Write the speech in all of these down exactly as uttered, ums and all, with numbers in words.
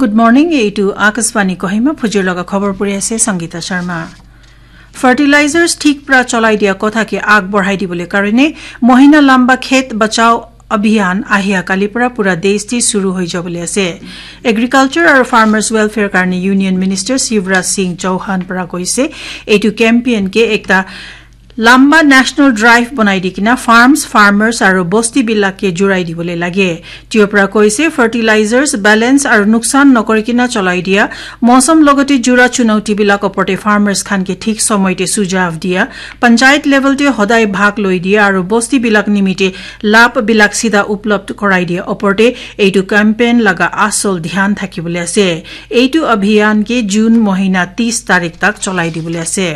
Good morning, এইটো আকাশবাণী কহিমা, ভুজুৰ লগা খবৰ পৰি আছে সংগীতা শৰ্মা। ফাৰ্টিলাইজাৰ্ছ ঠিক পৰা চলাই দিয়া কথাকে আগবঢ়াই দিবলৈ কাৰণে মহিনা লাম্বা খেত বচাও অভিযান আহিয়া কালিৰ পৰা পুৰা দেশতে শুৰু হৈ যাবলৈ আছে। এগ্ৰিকালচাৰ আৰু ফাৰ্মাৰ্ছ ৱেলফেয়াৰ কাৰণে ইউনিয়ন মিনিষ্টাৰ শিৱৰাজ সিং চৌহান পৰা কৈছে, এইটো কেম্পেইনকে একটা লাম্বা নেশ্যনেল ড্ৰাইভ বনাই দি কিনা ফাৰ্মছ, ফাৰ্মাৰ্ছ আৰু বস্তিবিলাকে জোৰাই দিবলৈ লাগে। তেওঁ পৰা কৈছে, ফাৰ্টিলাইজাৰ্ছ বেলেন্স আৰু লোকচান নকৰি কিনা চলাই দিয়া, মৌচম লগতে জোৰা চুনৌতিবিলাক ওপৰতে ফাৰ্মাৰ্ছ খানকে ঠিক সময়তে সুঝাৱ দিয়া, পঞ্চায়ত লেভেলতে সদায় ভাগ লৈ দিয়া আৰু বস্তিবিলাক নিমিত্তে লাভবিলাক চিধা উপলব্ধ কৰাই দিয়া ওপৰতে এইটো কেম্পেইন লগা আচল ধ্যান থাকিবলৈ আছে। এইটো অভিযানকে জুন মহিনা ত্ৰিশ তাৰিখ তাক চলাই দিবলৈ আছে।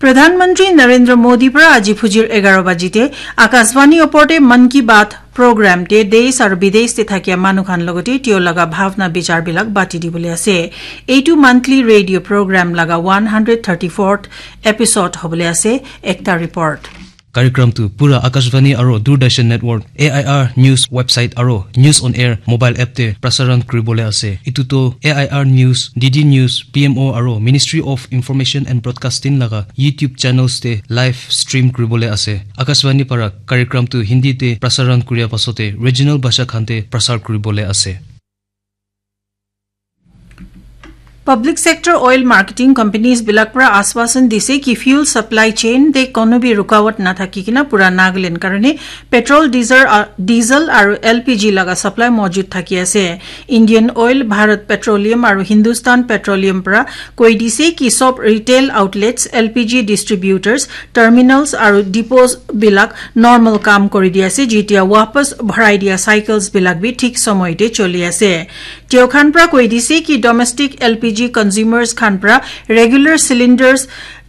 প্ৰধানমন্ত্ৰী নৰেন্দ্ৰ মোদীৰ পৰা আজি ফুজিৰ এঘাৰ বাজিতে আকাশবাণী ওপৰতে মন কী বাত প্ৰগ্ৰামতে দেশ আৰু বিদেশতে থাকিয়া মানুহখান লগতে তেওঁ লগা ভাৱনা বিচাৰবিলাক বাটি দিবলৈ আছে। এইটো মান্থলি ৰেডিঅ' প্ৰগ্ৰাম লগা one hundred thirty fourth episode হ'বলৈ আছে। একটা report. Karikram tu pura Akashvani aro Doordarshan Network, A I R News website aro News on Air mobile app te prasaran kuribole ase. Itu to A I R News, D D News, P M O aro Ministry of Information and Broadcasting laga YouTube channels te live stream kuribole ase. Akashvani para karikram tu Hindi te prasaran kuria pasote regional bhasha khan te prasar kuribole ase. Public sector oil marketing companies বিলাক পৰা আশ্বাসন দিছে কি fuel supply chain তে কোনো বি ৰুকাৱট নাথাকি কিনা পুৰা নাগালেণ্ড কাৰণে পেট্ৰল, ডিজেল, আ, ডিজেল আৰু এল পি জি লগা ছাপ্লাই মজুত থাকি আছে। ইণ্ডিয়ান অইল, ভাৰত পেট্ৰলিয়াম আৰু হিন্দুস্তান পেট্ৰলিয়াম পৰা কৈ দিছে কি সব ৰিটেইল আউটলেটছ, এল পি জি ডিষ্ট্ৰিবিউটাৰ্ছ, টাৰ্মিনেলছ আৰু ডিপোজ বিলাক নৰ্মেল কাম কৰি দি আছে, যেতিয়া ৱাপছ ভৰাই দিয়া চাইকেলছ বিলাক বি ঠিক সময়তে চলি আছে। তেওঁ খান পৰা কৈ দিছে কি domestic L P G consumers খান পৰা ৰেগুলাৰ চিলিণ্ডাৰ্ছ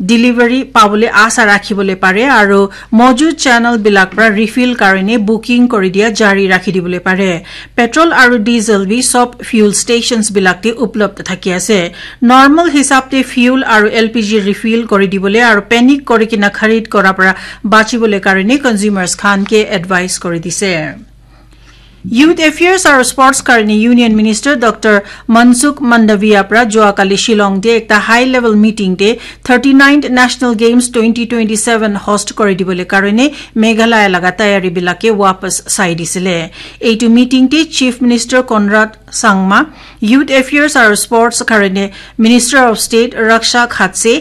ডেলিভাৰী পাবলৈ আশা ৰাখিবলৈ পাৰে আৰু মজুত চেনেল বিলাক পৰা ৰিফিল কাৰণে বুকিং কৰি দিয়া জাৰি ৰাখি দিবলৈ পাৰে। পেট্ৰল আৰু ডিজেল বি সব ফিউল ষ্টেচনছ বিলাকতে উপলব্ধ থাকি আছে। নৰ্মেল হিচাপতে ফিউল আৰু এল পি জি ৰিফিল কৰি দিবলৈ আৰু পেনিক কৰি কিনা খৰিদ কৰাৰ পৰা বাচিবলৈ কাৰণে কনজিউমাৰ্ছ খানকে এডভাইচ কৰি দিছে। ইউথ এফেয়াৰ্ছ আৰু স্পৰ্টছ কাৰণে ইউনিয়ন মিনিষ্টাৰ ডক্টৰ মনসুখ মাণ্ডাভিয়া পৰা যোৱাকালি শ্বিলংতে একটা হাই লেভেল মিটিংতে thirty ninth national games twenty twenty seven host কৰি দিবলৈ কাৰণে মেঘালয় লগা তৈয়াৰীবিলাকে ৱাপছ চাই দিছিলে। এইটো মিটিংতে chief minister Conrad Sangma, youth affairs আৰু স্পৰ্টছ কাৰণে মিনিষ্টাৰ অফ ষ্টেট ৰক্ষা খাটছে,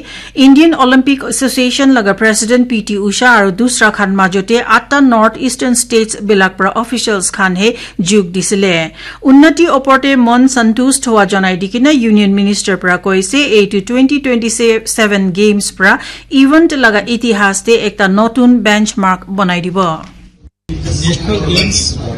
ইণ্ডিয়ান অলিম্পিক এছ'চিয়েশ্যন লগা প্ৰেচিডেণ্ট পি টি উষা আৰু দুচৰা খান মাজতে আঠটা নৰ্থ ইষ্টাৰ্ণ ষ্টেটছ বিলাক পৰা অফিচিয়েলছ খানহে যোগ দিছিলে। উন্নতি ওপৰতে মন সন্তুষ্ট হোৱা জনাই দি কিনে ইউনিয়ন মিনিষ্টাৰ পৰা কৈছে, এইটো টুৱেণ্টি টুৱেণ্টি ছেভেন গেমছ পৰা ইভেণ্ট লগা ইতিহাসতে একটা নতুন বেঞ্চমাৰ্ক বনাই দিব। National Games